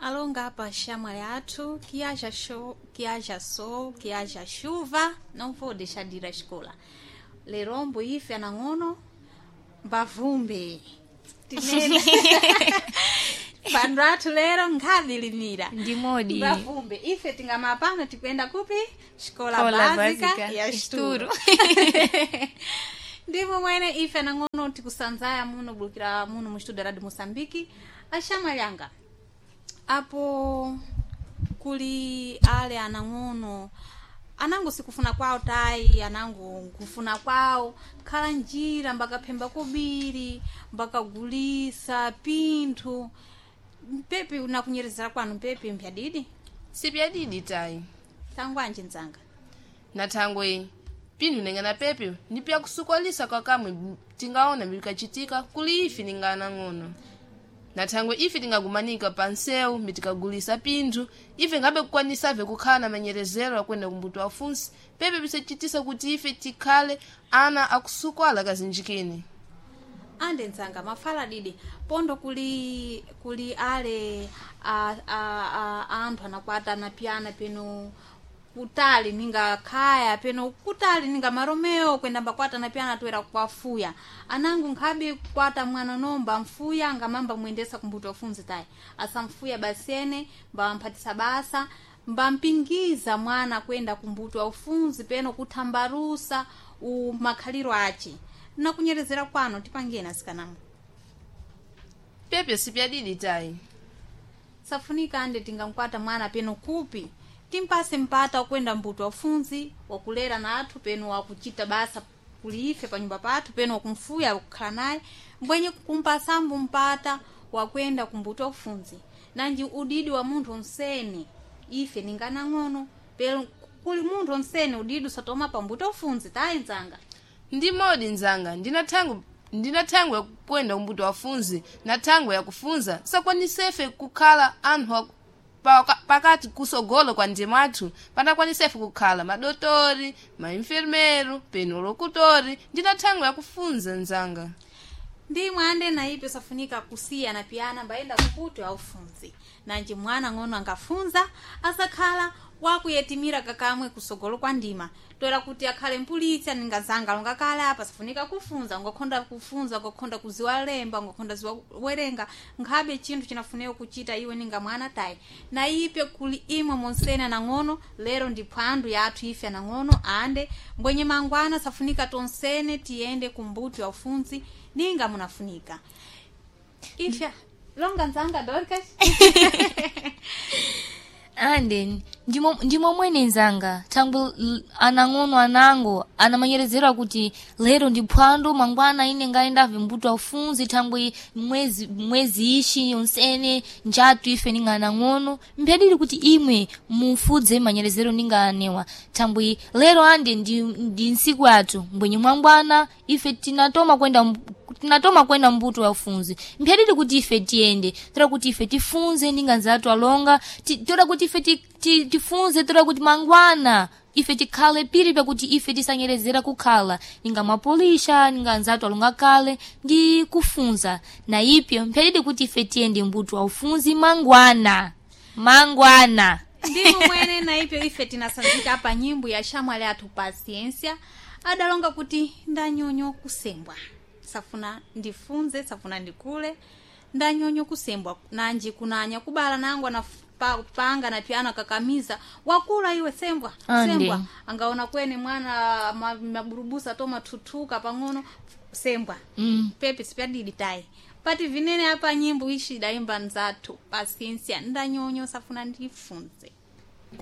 Alonga apa shamwali athu, que haja, show, que haja sol, que haja chuva, não vou deixar de ir à escola. Lerombo ife anang'ono, mbavumbe. Tinene. Pandu athu lero nkhadilimira. Ndimodi. Mbavumbe. Ife tingamapano tikuyenda kupi? Escola Escola básica Básica ya Esturo. Esturo. Ndimo mwene ife anang'ono tikusanzaya muno bulukira muno mu estudo radio Moçambique. Axamwali apo kuli ale anang'ono anango sikufuna kwawo tayi anango nkufuna kwawo khala njira mbakaphemba kobiri mbakagulisa pinthu mpepi nakunyerezera kwanu mpepi mpyadidi Sipyadidi tayi. tangwanji mdzanga Na thangwe pinthu ningana pepe ndi pyakusukolisa kwakamwe tingaona bikachitika kuli ife ningana ng'ono. Na thangwe ife tingagumanika pa nsewu mitikagulisa pinthu ife ngabe kukwanisave kukhala na manyerezero akwenda kumbuto afunsi pepe bisachitisa kuti ife tikhale ana akusukwala kazinjikini. Ande nzanga mafala didi pondo kuli kuli ale a, a, a, anthu anakwata anapiyana peno kutali ninga khaya peno kutali ninga maromeo kwenda mbakwata anapiyana toera kwafuya anangu nkhabe kwata mwana nomba mfuya angamamba mwendesa kumbuto afunzi tayi asamfuya basene mbawamphatisa basa mbampingiza mwana kwenda kumbuto aufunzi peno kuthambarusa umakhaliro ace nakunyerezera kwanu tipangeni asikanamo Pepe sipyadidi tayi. Safunika ande tingamkwata mwana peno kupi timpase mpata wakwenda mbuto wafunzi wakulera na athu peno wakuchita basa kuliife panyumba pathu peno wakumfuya wakukhala naye mbwenye kumpasambu mpata wakwenda kumbuto wakufunzi nanji udidi wa munthu onsene ife ninganang'ono peno kuli munthu onsene udidi usatoma pambuto wafunzi tayi nzanga. Ndi modi nzanga ndina thangwe ndina thangwe yakukwenda kumbuto wafunzi na thangwe yakufunza sakwanisefe kukhala anthu pakati kusogolo kwa ndima athu panakwanisefe kukhala madotori mainfermeru peno lokutori ndina thangwe yakufunza nzanga. Ndimwe ande naipe safunika kusiya na piyana mbayenda kuputo aufunzi nanji mwana ng'ono angafunza asakhala wakuyetimira kakamwe kusogolo kwa ndima toera kuti akhale mpulitsi aningazanga longa kale apa safunika kufunza ungakhonda kufunza ungakhonda kuziwa lemba ungakhonda ziwa werenga nkhabe chinthu chinafunika kuchita iwe ninga mwana tayi na ipe kuli imwe monsene anang'ono lero ndi phwandu yathu ife anang'ono ande mbwenye mangwana safunika tonsene tiyende kumbuto ya ufunzi ninga munafunika ifya longa nzanga Dorcas. Ande ndimo mwene nzanga thangwe anang'ono anango anamanyerezera kuti lero ndi phwando mangwana ine ngayendave mbuto aufunzi thangwe mwezi mwezi ishi yonsene njatu ife ninga anang'ono mpyadili kuti imwe mufudze manyerezero ninga anewa thangwe lero ande ndi ntsiku yathu mbwenye mwangwana ife tinatoma kwenda tinatoma kwenda mbuto ya ufunzi mpyadili kuti ife tiyende toda kuti ife tifunze ninga nzathu alonga toda kuti ife tifunze toda kuti mangwana ife tikhale piri pakuti ife tisanyerezera kukhala ninga mapolisha ninga nzathu alonga kale ndi kufunza na ipyo mpyadidi kuti ife tiyende mbuto wa ufunzi mangwana mangwana. Ndimo mwene na ipyo ife tinasanzika apa nyimbo ya shamwali athu Pasiensia adalonga kuti ndanyonyo kusembwa safuna ndifunze safuna ndikule ndanyonyo kusembwa nanji kunanya kubala nangu anapanga na pyana kakamiza wakula iwe sembwa. Ande. Sembwa angaona kwene mwana maburubusa to mathutuka pang'ono sembwa. Pepe sipyadidi tayi pati vinene apa nyimbo ishi daimba nzathu Pasiensia ndanyonyo safuna ndifunze.